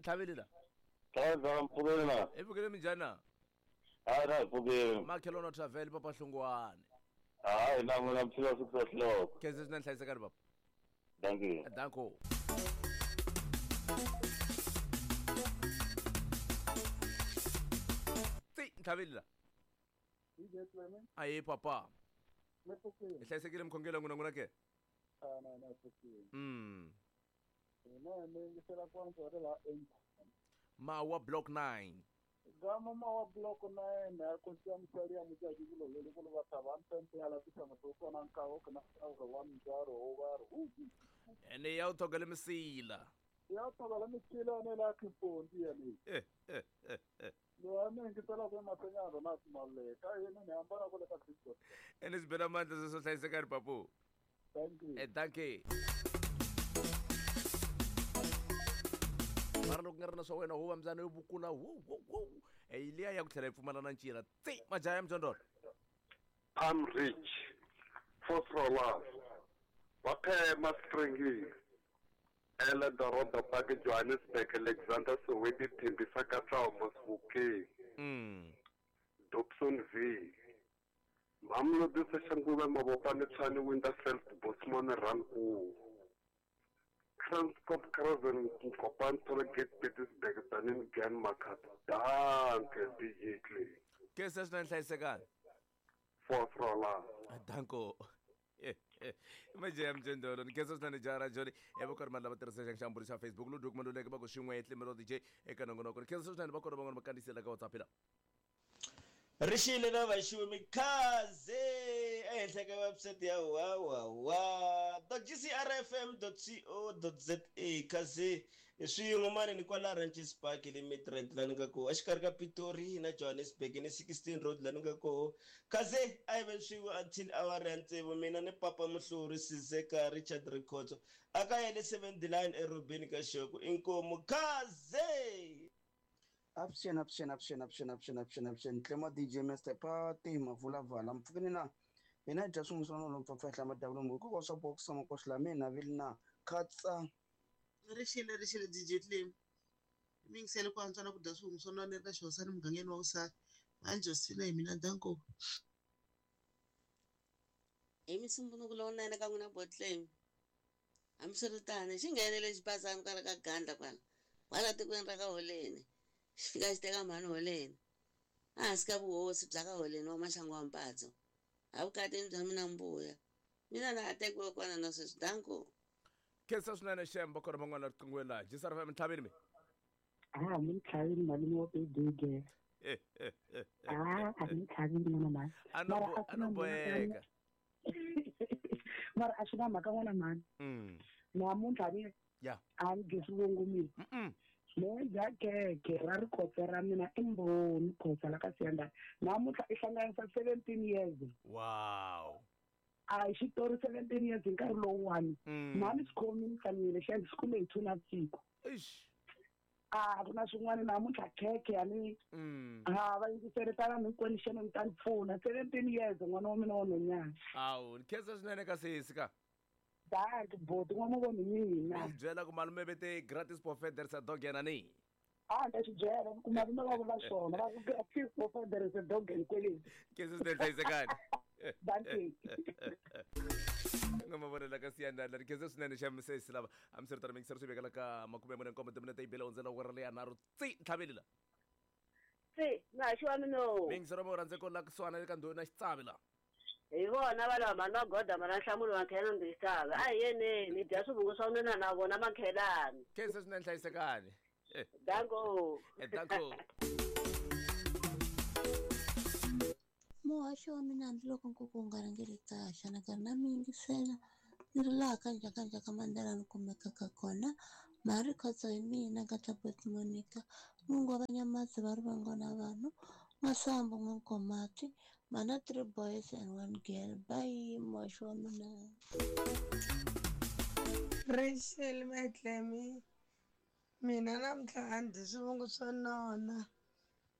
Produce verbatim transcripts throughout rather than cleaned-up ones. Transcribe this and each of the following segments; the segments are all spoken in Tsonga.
ntlhaveli la Thaza mpfukeni na. I pfukile minjhani na? Hayi na hi pfukile. Makhelwana Travel papa Hlongwane. Hayi na n'wina mi fika six o'clock. Khensa swinene hlayisekani papa. Thank you. Danko. Tsi ntlhaveli la. Aye papa. Mi pfukile. Hi hlayisekile mukhongelo n'wina n'wina ke? Ah na na pfukile. Mm. Mina ni yingisela kwanza ri la Mawa block nine. Gama mawa block nine a ko siya msali ya mujaji kulo lele kulo bataba mpempe ala pisa mtoko na nkawo kana wa mjaro o Ene ya uthogela misila. Ya uthogela misila ne la kipondi ya ni. Eh eh eh eh. Lo ame ngitela kwa masenyano na simaleka yena ni ambara kule ka Kristo. Ene sibela mandla so hlayisekani papu. Thank you. Eh thank you. Mara loko nga ri na swa wena huva mbyana yo vukula wo wo wo eh liya ya ku tlhela yi pfumala na ncila tsi majaha ya mjondolo. I'm rich Fosrolas Vaphema Stringi Ele Doroba Park Johannesburg Alexander Soweto Thembisa Katlao Mosbokeng mm Dobson V Mamlodi Seshanguve Mabopane Tshwane Winterfeld Bosman Ranku Transkop Craven Kopan Tollgate Pietersburg Tanin Gan Makat. Danke D J Clay. Ke se swinene hlayisekani. Fosrolas. Danko. Majaha mjondolo ni khensa swinene jaha ra Joni e va karhi lava tirhisa xamburi xa Facebook Ludwig Maluleke va ku xin'we Tlimelo D J eka nongonoko ni khensa swinene va kona van'wana va kandziyisela ka WhatsApp la. Rixile na vaxiwe mikhaze ehenhla ka website ya wawawa dot g c r f m dot co dot za khaze swin'we mani ni kwala Ranches Park le Midrand la ni nga koho exikarhi ka Pitori na Johannesburg ni sixteen road la ni nga koho khaze a hi ve swin'we until awara ya tsevu mina ni papa Muhluri Sizeka Richard Rikhotso a ka yele seven line erobeni ka Xoko inkomu khaze. Option, option, option, option, option, option, option. Tlema D J Master Party, Mavula Vala, Mfukini na. Mina dya swin'wana swa mpfapfa madavula ngo ko swa box ma ko swi mina vilna khatsa. Rixile rixile D J Clem. Mi ngisele ku antswa na ku dya swin'wana swa nwana eka xihosana mugangeni wa vusati. Manje sina hi mina danko. Hi misumbunuku lowunene ka n'wina Botlem. Hambiswiritano xi nghenele xibazana kwala ka Gandla kwala. Kwala tikweni ra ka Holeni. Xi fika xi teka mhani Holeni. Ehansi ka vuhosi bya ka Holeni wa Maxangu wa Mpatso. Evukatini bya mina mbuya. Mina na ha tekiwe kona na sweswi danko. Khensa swinene Shembo kona van'wana riqingweni laha. G C R F M ntlhaveni mi. Ah, mi ntlhaveni malume wa Big. Eh eh eh. Ah, a mi ntlhaveni n'wana mhani. A no a no boheka. Mara a swi na mhaka n'wana mhani. Mm. Namuntlha ni Ya. a ni dyi swivongo Mm. Moja keke ra rikhotso ra mina i mbhoni khotsa la ka Siyandhani. Namuntlha i hlanganisa seventeen years. Wow. A hi xitori seventeen years hi nkarhi lowuwani. Mhani swi khomile hlamile xi swi kume hi two navusiku. Eish. A ku na swin'wana namuntlha khekhe ya ni ha va yingiseritana hinkwenu xana mi ta ni pfuna seventeen years n'wana wa mina wa nhwanyana. Awu ni khensa swinene ka sesi ka. Dank boti n'wana wa mina. Mi byela ku malume vete gratis buffet there is a dog yena ni. Ah ni swi byela ku malume va vula swona va ku gratis buffet there is a dog hinkwenu. Khensa swinene hlayisekani. Dankie. Nga mavonelo ka Siyandhani ni khensa swinene xa misesi lava a mi swi ri tano mingiseri swi vekela ka makume mune nkombo timinete yi bile hundzela awara leya nharhu tsi ntlhaveli la. Tsi muhaxi wa mina. Mingiseri wa rhandze ko la kusuhana le ka ndhuna xitsavi la. Hi vona va lava mhani Magoda mana nhlamulo Makhelani ndzi xitsavi. A hi yeneni hi dya swivungu swa nuna na vona Makhelani. Khensa swinene hlayisekani. Danko. Danko. Muhaxi wa mina hambiloko nkuku wu nga rhangeli kahle na karhi na mi yingisela ni ri laha ka Njhakanjhaka Mandela ni kumekaka kona. Mhari Khotso hi mina Nkatla Monica Mungu wa Vanyamatsi va ri vangona vanhu Masambu N'wankomati mana three boys and one girl. Bye muhaxi wa mina. Rachel Matlemi mina namuntlha a ndzi swivongo swa nona.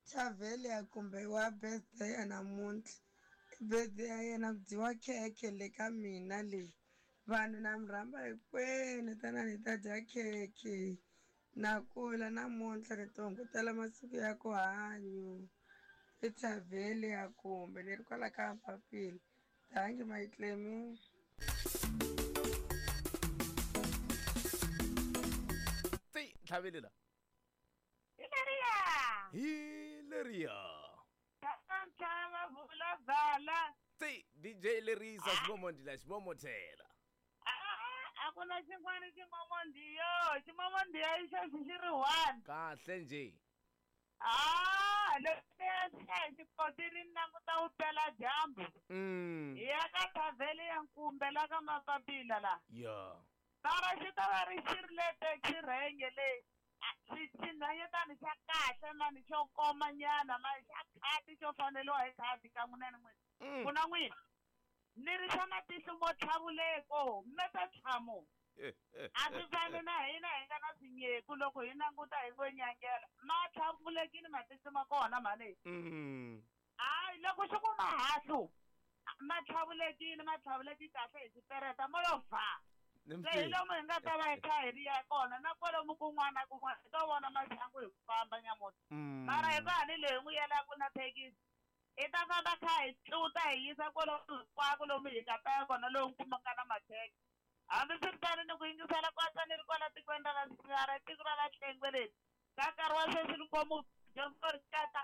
Chavelia kumbe wa birthday ya namuntlha i birthday ya yena ku dyiwa khekhe le ka mina le vanhu na mi rhamba hinkwenu tanani hi ta dya khekhe Na kula namuntlha ni ti hungutela masiku ya ku hanyu. I Thavheli ya kumbe ni ri kwala ka Papila. Dankie my Clemi. Ti ntlhaveli la. Hi leriya. Hi leriya. Ntlhava vula vala. Ti D J Lerisa ximomondi la ximomotela. A ku na xin'wana ximomondiyo, ximomondiyo i xexi xi ri one. Kahle nje. Ah, loko xikotini ni languta wu pela dyambu. Mm. Hi ya ka Thavheli ya Nkumbe la ka Mapapila la. Ya. Mara xi ta va ri xi ri le taxi renge le. Xi xinhwanyetana xa kahle mani xo koma nyana mani xa khadi xo faneliwa hi khadi ka n'wina ni n'wina. Ku na n'wina. Ni ri xa matihlo mo tlhavuleko meta tlhamo. A swi fani na hina hi nga na swinyeku loko hi languta hi ngo nyangela. Ma tlhavulekile matihlo ma kona mhani. Mm. Hayi loko xi ku mahahlu ma tlhavulekile ma tlhavuleki kahle hi xipereta mo yo fa. Se hi lomu hi nga ta va hi kha hi ri ya kona na kwalomu kun'wana na kun'wana hi to vona maxangu hi ku famba nyamuntlha. Mara hi va ni leyi n'wi yelaka na thekisi. Hi ta famba kha hi tluta hi yisa kwalomu hinkwako lomu hi nga ta ya kona lowu kumaka na mathekisi. Hambi swi ri tano ni ku yingisela kwatsa ni ri kwala tikweni ra la tiko ra la Hlengwe ka nkarhi wa sweswi ni komu dyondzo ri kata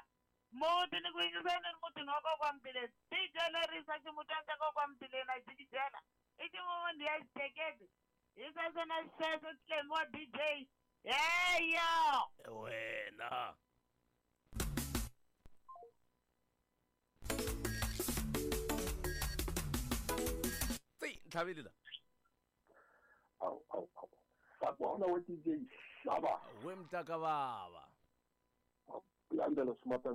muti ni ku yingisela ni ri mutini wa kokwa Mbileni. D J Lerisa ximutana xa kokwa Mbileni a jikijela i ximomondi ya xiteketi. Hi sweswo na sweswo Clemi wa D J. Heyo wena. Ti ntlhaveli la. Awu awu awu. Sakubona we D J Hlaba. We mntaka baba. Kulandela sumata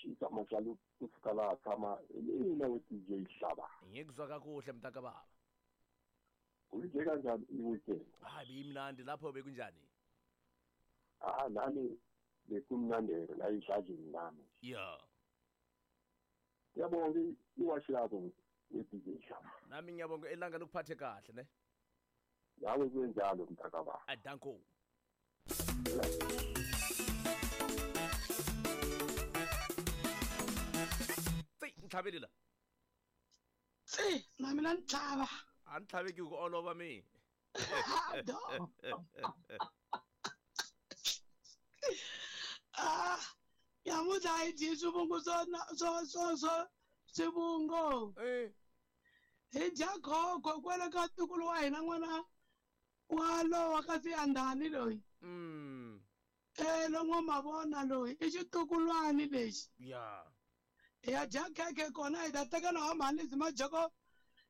xita majalo kusuka laha tshama mina we D J Hlaba. Ngikuzwa kakuhle mntaka baba. Uyije kanjani i-weekend? Hayi bimnandi lapho bekunjani? Ah nami bekumnandi la idlajini nami. Yeah. Ngiyabonga iwashi yakho we D J Hlaba. Nami ngiyabonga ilanga lokuphathe kahle ne. Nawe kuyenjalo mntaka baba. Adanko. Ti ntlhaveli la. Tsi na mina ntlhava. A ni tlhaveki ku olova mi. Ah, nyamuntlha hi dyi swivungu swo swo swo swo swivungu. Eh. Hi dya khokho kwale ka ntukulu wa hina n'wana wa lowa ka Siyandhani loyi. Mm. Eh longo mavona loyi i xitukulwani lexi. Ya. Hi ya dya khekhe kona hi ta teka lawa mhani majoko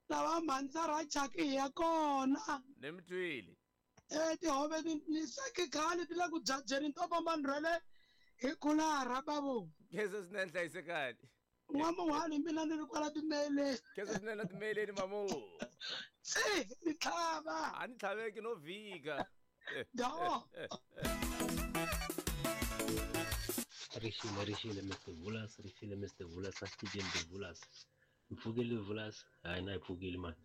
lawa mhani ra chaki hi ya kona. Ni mi twile. Eh tihove ni ni sweki khale ti le ku byajeni to famba ni rhwele hi khulara bavo. Khensa swinene hlayisekani. N'wamuhani mina ni ri kwala timeleni. Khensa swinene timeleni mamu. Tsi ni tlhava. A ni tlhaveki no vhika. Do. Rixile rixile Mister Vulas, rixile Mister Vulas, asitijeni Vulas. Mpfukile Vulas, hayi na hi pfukile mani.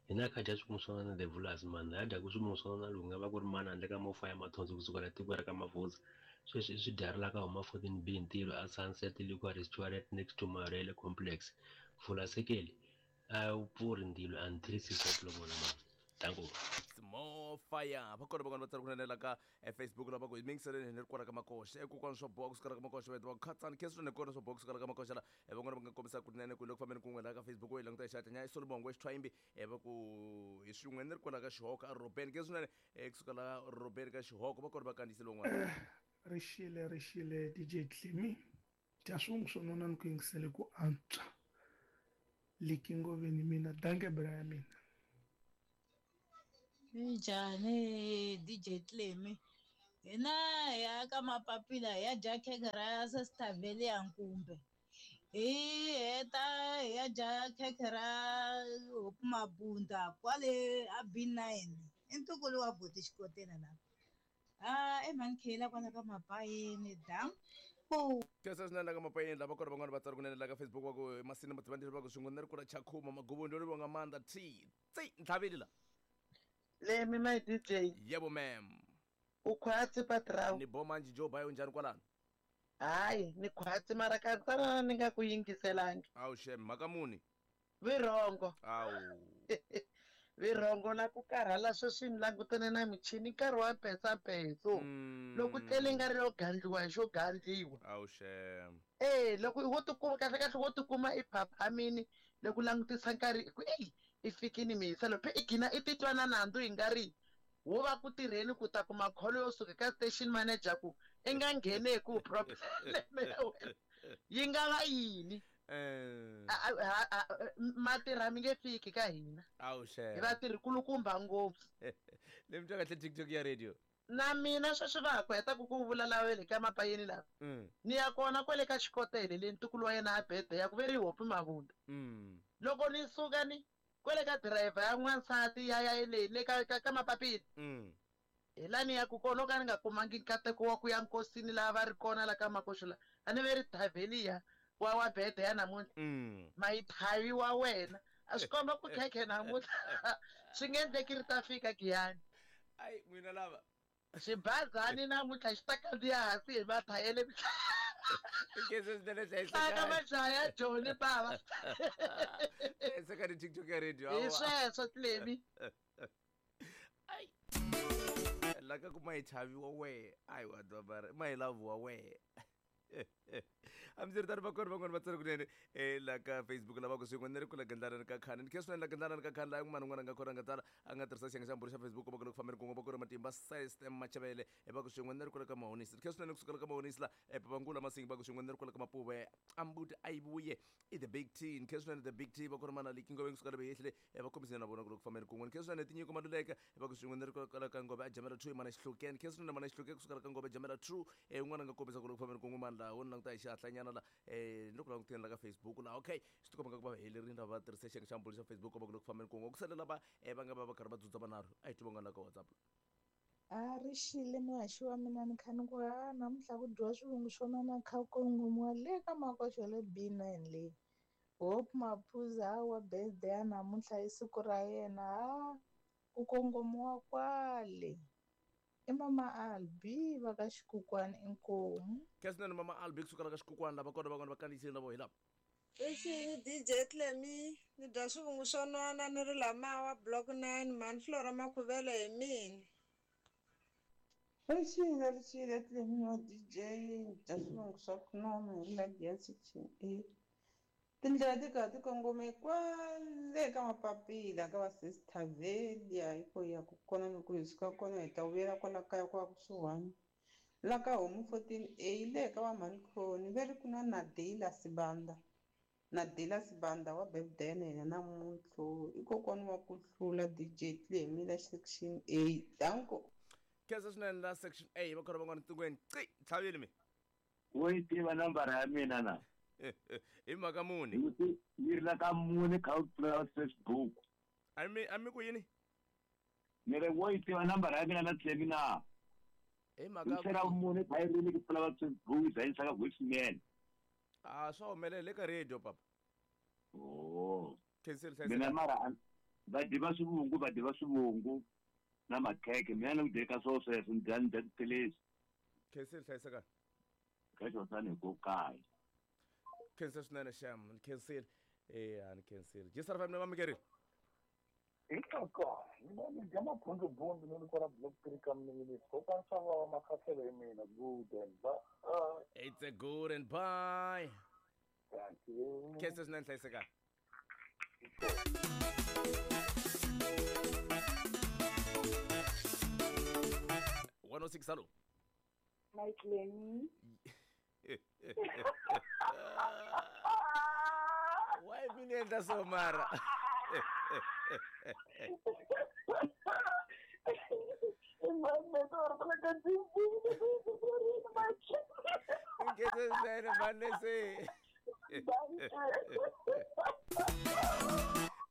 Hina kha dya swin'wana swa na the Vulas mani, ha dyaku swin'wana swa na lowu nga va ku ri mani handle ka mofa ya mathonsi kusuka la tiko ra ka Mavhudza. Sweswi i swi dyarila ka huma fourteen B ntirho a Sunset Liquor Restaurant next to Marele Complex. Vulasekeli a wu pfuri ndilo until six o'clock vona mani. Danko. More fire. Va kona van'wana va tsala ku nanela ka Facebook lava ku mingiseleni ni ri kwala ka Makoxa. Ekokwana swa boha kusuka la ka Makoxa va va khatsani khensa swinene kona swa boha kusuka la ka Makoxa la. Van'wana va nga kombisa ku nene ku loko fambeni kun'we la ka Facebook yi languta hi xihatla nya i Solomon wa Xithwayimbi va ku hi swin'we ni ri kwala ka Xihoko a Robeni khensa swinene kusuka la Robeni ka Xihoko va kona va kandziyisile van'wana. Rixile rixile D J Clemi. Dya swin'we swo nona ni ku yingisele ku antswa. Likingoveni mina danke bra ya mina. Minjhani D J Clemi? Hina hi ya ka Mapapila hi ya dya khekhe ra Sesithavheli ya Nkumbe. Hi heta hi ya dya khekhe ra Hope Mabunda kwale a B nine. I ntukulu wa buti Xikotela la. Ah, i mhani Khela kwala ka Mapayeni danko. Khensa swinene ka Mapayeni lava kona van'wana va tsala kunene la ka Facebook va ku Masina Mativandlela va ku swin'we ni ri kula Chakhuma Magubu ndo ri vonga Mandla T. Tsi ntlhaveli la. Lemi my D J. Yebo ma'am. U khwatsi patrao. Ni bo manji jo bayo njhani kwalano? Hayi, ni khwatsi mara katsana ni nga ku yingiselangi. Awu shem, mhaka muni? Virongo. Awu. Virongo na ku karhala sweswi ni langutene na michini nkarhi wa mpetsampetso. Mm. Loko tlele nga ri yo gandliwa hi xo gandliwa. Awu shem. Eh, loko wo tikuma kahle kahle wo tikuma i phaphamini loko langutisa nkarhi ku ey i fikini mihisa loko i gina i titwa na nandzu hi nga ri wo va ku tirheni ku ta kuma kholo yo suka ka station manager ku i nga nghene ku problem ya wena yi nga va yini. Eh. Matirha mi nge fiki ka hina. Awu shem. Hi vatirhi kulukumba ngopfu. Ni mi twa kahle TikTok ya radio. Na mina sweswi va ha ku heta ku ku vula lawele ka mapayeni lava. Mm. Ni ya kona kwale ka xikotele le ntukulu wa yena a birthday ya ku ve ri Hope Mavunda. Mm. Loko ni suka ni kwale ka driver ya n'wansati ya ya le le ka ka, ka mapapila. Mm. Hi la ni ya ku kona ka ni nga kumangi nkateko wa ku ya nkosini laha va ri kona la ka makoxo la. A ni ve ri Thavelia wa wa birthday ya namuntlha. Mm. Mayithavi wa wena. A swi komba ku khekhe namuntlha. Swi nge endleki ri ta fika Giyani. Ai n'wina lava. Xibazani namuntlha xi ta kandziya hansi hi mathayele. Nkhensa swinene Hlaka hlayiseka. majaha ya Joni bava. Hlayiseka ni TikTok ya radio. Hi sweswo Clemi. Ai. La ka ku mayichavi wa wehe. Ai wa dwa mayilavu wa wehe. Hambiswiritano va kona van'wani va tsale kunene eh la ka Facebook lava ku swin'we ni ri ku la gandlana ka khani ni khe swinene la gandlana ka khani laha n'wana n'wana a nga kona a nga tsala a nga tirhisa xiyenge xa mbhuri xa Facebook va ku loko fambeni kun'we va ku ri matimba system Machavele va ku swin'we ni ri kula ka Mahonisi ni khe swinene kusukela ka Mahonisi la Papangula Masingi va ku swin'we ni ri kula ka Mapuve Ambuti Ayivuye i the big T ni khe swinene the big T va ku ri mana liki ngove kusukela beyehlile va kombisile na vona ku loko fambeni kun'we ni khe swinene tinyiko Maluleka va ku swin'we ni ri kula ka Ngove a Jamela two mana Xihlukeni khe swinene mana Xihluke kusukela ka Ngove Jamela two eh un'wana a nga kombisa ku loko fambeni kun'we mani laha wo ni languta hi xihatlanyana la eh ni loko languteni la ka Facebook la okay swi tikomba nga ku va helerile lava va tirhise xiyenge xa mbhuri xa Facebook va ku loko fambeni kun'we ku sale lava eh va nga va va karhi va dzudza vanharhu a hi twi van'wana la ka WhatsApp. A ri xile muhaxi wa mina ni kha ni ku ha namuntlha ku dyiwa swivungu swo nona kha kongomiwa le ka makoxo le B nine leyi. Hope Maphuza wa birthday ya namuntlha i siku ra yena ha ku kongomiwa kwale. I mama Albi va ka Xikukwani inkomu. Khe swinene mama Albi kusukela ka Xikukwani lava kona van'wana va kandziyisile na vo hi lava. Rixile D J Clemi ni dya swivungu swo nona ni ri lamawa block nine mani Flora Makhuvele hi mina. Rixile rixile Clemi wa D J ni dya swivungu swa ku nona hi ri la Giyani section A. Tindlela ti karhi ti kongome kwale ka mapapila ka va Sister Velia hi ko ya ku kona loko hi suka kona hi ta vuyela kwala kaya kwa kusuhani la ka homu fourteen A le ka va Mhani ve ri ku na Nadila Sibanda. Nadila Sibanda wa birthday na yena namuntlha i kokwana wa ku hlula D J Clemi la section A. Danko. Khensa swinene la section A va kona van'wana tingweni ci tlhavile mi. Wo yi tiva nambara ya mina na? Hi mhaka muni? Yi ri la ka mune kha u pfula Facebook. A mi a mi ku yini? Ni ri wo yi tiva nambara ya mina na Clemi na? Hi mhaka Yi tlhela mune kha yi ri ku pfula Facebook yi za yi saka voicemail. Ah swa humelela eka radio papa. Oh. Khensile Mina hlayiseka. mara va diva swivungu va diva swivungu na makhekhe mina ni ku dyeka swo sweswo ni dya ni dya tiphilisi. Khensile hlayiseka. Ka xosani hi ko kaya. Khensa swinene xem ni khensile eh a ni khensile G S R F M va mikerile. Hitoko mina ni dya mabundubundu ni ri kwala block three ka minisi kokwana swa vava makhahlelo hi mina good and bye. It's a good and bye. Thank you. Khensa swinene hlayiseka. one oh six hello. My Clemi. Why mi endla so mara? Nkhensa swinene manese.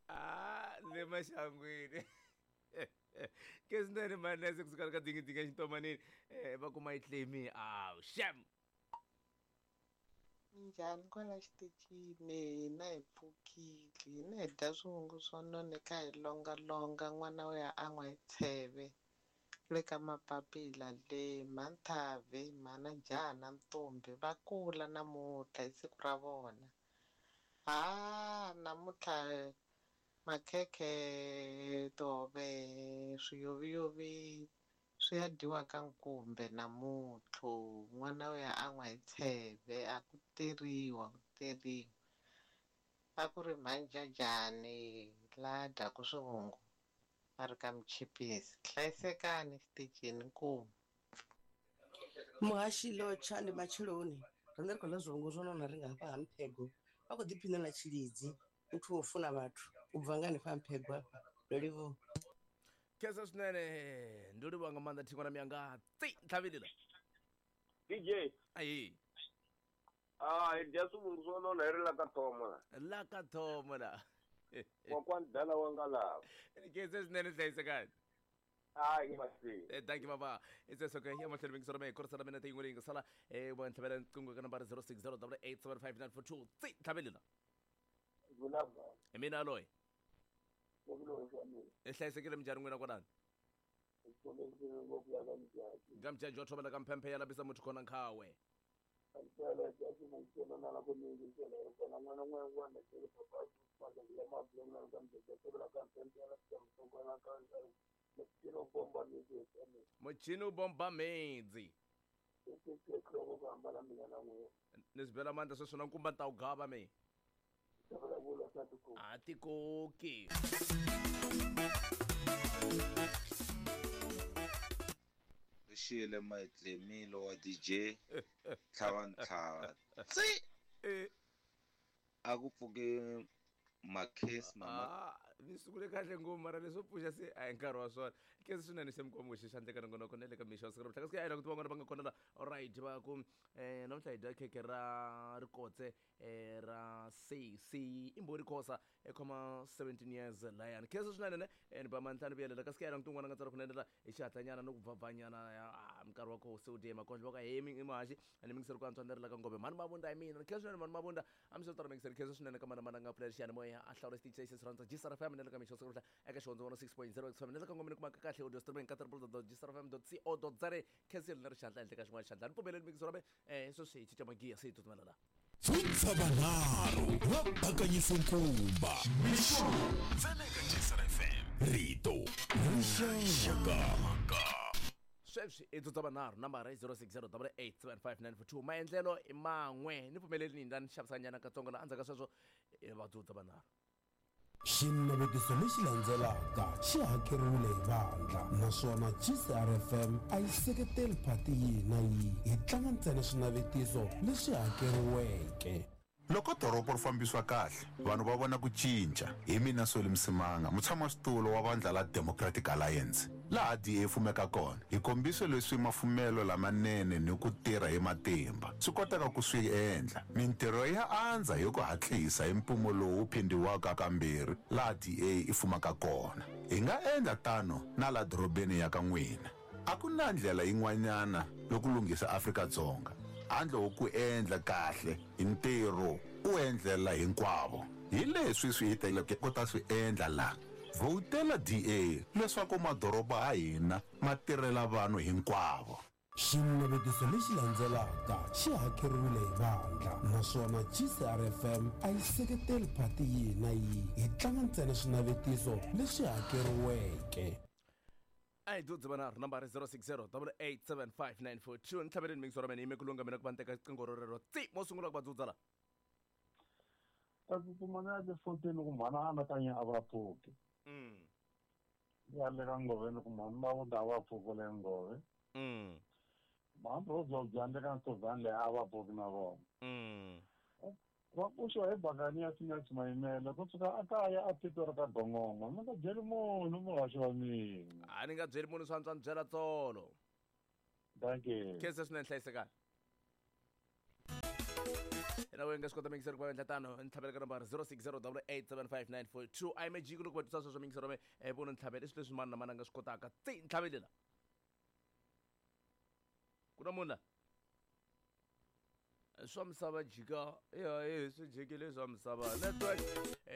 Ah, le maxangwini. Khensa swinene manese kusukela ka dingidingi exintomanini. Eh va kuma yi Clemi. Aw, shame. Minjhani kwala xitichini hina hi pfukile hina hi dya swivungu swo nona kha hi longalonga n'wana wo ya an'wa hi tsheve Le ka Mapapila le Manthavi, Mhana Jaha na Ntombi va kula namuntlha hi siku ra vona. Ha namuntlha makhekhe, tihove, swiyoviyovi swi ya dyiwa ka nkumbe namuntlha. N'wana u ya an'wa hi tsheve, a ku teriwa ku teriwa. A ku ri mhanjajani la dyaku swivungu a ri ka Mchipisi. Hlayisekani xitichini nkumu. Muhashi lotsha ndi matsheloni riṋe ri khou ḽa zwivhungu zwo nona ri nga hafha ha Mphego vha khou ḓiphina na tshilidzi muthu wo funa vhathu u bva nga hanefha ha Mphego hafha ndo livhuwa. Khensa swinene ndo livhuwa nga maanḓa thingwana miyanga tsi ntlhavelela D J ayi ah hi dya swivungu swo nona hi ri la ka thomo la la ka thomo la kokwani dala wa nga lava khensa swinene hlayisekani. Hayi masi. Thank you baba. It's okay. Ya mahlweni mingisoro me korisa mina tiyin'we leyi nga sala eh wa ntlhavela nqingho ka nambara zero six zero double eight seven five nine four two. Tsi ntlhavelela. Vulava. Hi mina loyi. E hlayisekile minjhani n'wina kwalani? Ka mjaji wa thobela ka mphemphe ya labisa muthu khona nkhawe. Muchini u bomba mhedzi. Ni swi bela mandla sweswo na nkumba ni ta wu gava me. A ti koki. Rixile Maitlemilo wa D J tlhava ntlhava tsi a ku pfuke makhesi mama. Ah, ni sungule kahle ngopfu mara leswo pfuxa se a hi nkarhi wa swona. Khensa swinene se mikwembu xi xandleka nongonoko na le ka mixo wa siku ra namuntlha. Kasi a hi languti van'wana va nga kona la alright va ku eh namuntlha hi dya khekhe ra rikotse eh ra C C i mbhoni Khosa e khoma seventeen years layani. Khensa swinene ne ni ba mantlhanu vuyelela kasi a hi languti un'wana a nga tsala kunene la hi xihatlanyana no ku bvabvanyana ah minkarhi wa koho se wu dye makondlo va ka he mi muhaxi ni mingiseri ku antswa ni ri la ka ngove mhani Mavunda hi mina. Khensa swinene mhani Mavunda a mi swi tala mingiseri khensa swinene ka mana mana nga pfulela xiyanimoya a hlawula xitichi lexi xi rhandza G S R F M na le ka mixo siku eka xihondzo one oh six point zero X F M na le ka ngomeni kumaka kahle audio streaming ka triple dot G S R F M dot C O dot Z A. Khensa na ri xandla ehenhla ka xin'wana xandla ni pfumeleli mingiso ra me eh sweswi hi cinca magiya se hi tsutsumela la Dzudza vanharhu va bakanyisa nkumba mixo ntsena eka G S R F M rito rixaka. Sweswi i dzudza vanharhu nambara i zero six zero double eight seven five nine four two. Maendlelo i man'we ni pfumeleli ni ni xavisanyana katsongo la endzhaku ka sweswo va dzudza vanharhu. Xinavetiso lexi landzelaka xi hakeriwile hi vandla naswona G C R F M a yi seketeli phati yihi na yihi hi tlanga ntsena swinavetiso leswi hakeriweke. Loko doroba ri fambisiwa kahle vanhu va vona ku cinca. Hi mina Solly Msimanga mutshamaxitulu wa vandla la Democratic Alliance laha D A fumeka kona hi kombise leswi mafumelo lamanene ni ku tirha hi matimba swi koteka ku swi endla. Mintirho ya andza hi ku hatlisa hi mpimo lowu phindiwaka kambirhi laha D A i fumaka kona. Hi nga endla tano na la dorobeni ya ka n'wina. A ku na ndlela yin'wanyana yo ku lunghisa Afrika-Dzonga handle ko ku endla kahle hi ntirho u endlela hinkwavo. Hi leswi swi hi teleke ku ta swi endla la. Vhotela D A leswaku madoroba ya hina ma tirhela vanhu hinkwavo. Xinavetiso lexi landzelaka xi hakeriwile hi vandla naswona G C R F M a yi seketeli phati yihi na yihi hi tlanga ntsena swinavetiso leswi hakeriweke. A hi dzudzi vanharhu nambara zero six zero double eight seven five nine four two. Ni tlhaveleni mingisoro mina yime ku lunga mina ku va ni teka riqingho rorero tsi mo sungula ku va dzudza la. Ta tsutsuma ni ya le fourteen ku mhana a anakanya a va pfuki. Ni ya le ka ngoveni ku mhani Mavunda a va pfuki le ngove. Mhani Rosa le ka ntsovhani leyi a va pfuki na vona. Va pfuxiwa hi bakani ya Sinach Mayimele kusuka a kaya a titwa ri ka gongongo. Mi nga byeli munhu muhaxi wa mina. A ni nga byeli munhu swa antswa ni byela tsolo. Thank you. Khensa swinene hlayisekani. Na wena nga swi kota mingiseri ku va endla tano ni tlhavela ka nambara zero six zero double eight seven five nine four two. A yi mejiki loko va twisa sweswo mingiseri wa me vona ntlhavela i swilo leswi mani na mani a nga swi kotaka. Tsi ntlhavelela. Ku na munhu la? Swa misava jika ya e swi jikile swa misava network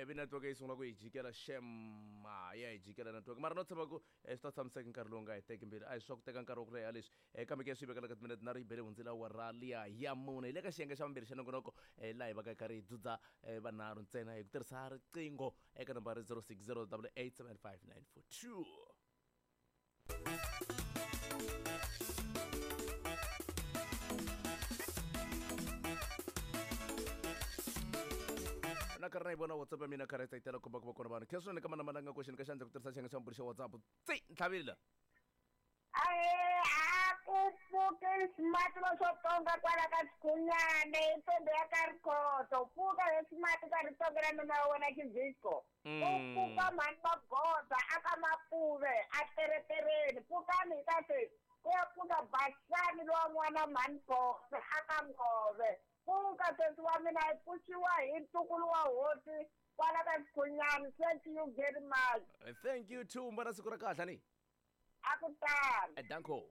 ivi network yi sungula ku yi jikela shem ya yi jikela network mara no tshemba ku swi ta tshamiseka nkarhi lowu nga hi teki mbili a hi swa ku teka nkarhi wa ku leha leswi kambe ke swi vekela ka timinete na ri yi bele hundzile awara liya ya mune hi le ka xiyenge xa vumbirhi xa nongonoko laha hi va ka karhi hi dzudza vanharhu ntsena hi ku tirhisa riqingho eka nambara zero six zero double eight seven five nine four two. Na karhi na yi vona WhatsApp ya mina karhi yi tsayitela komba ku va kona vanhu khe swinene ka mana nga koxeni ka xandla ku tirhisa xiyenge xa mbirhi xa WhatsApp tsi ntlhavile ahe a ku pfuki smart swo tonga kwala ka Sikhunyane i ntombi ya ka Rikhoto pfuka he smart ka ritonga ra nuna wa wena Xivhisco u pfuka mhani Magoda a ka Mapuve a teretereni pfukani hi ka se ku ya pfuka Basani lowa n'wana mhani Boxe a ka Ngove pfuka sesi wa mina hi pfuxiwa hi ntukulu wa hosi kwala ka Sikhunyane. Thank you very much. Thank you too mbona siku ra kahle ni a ku tani danko.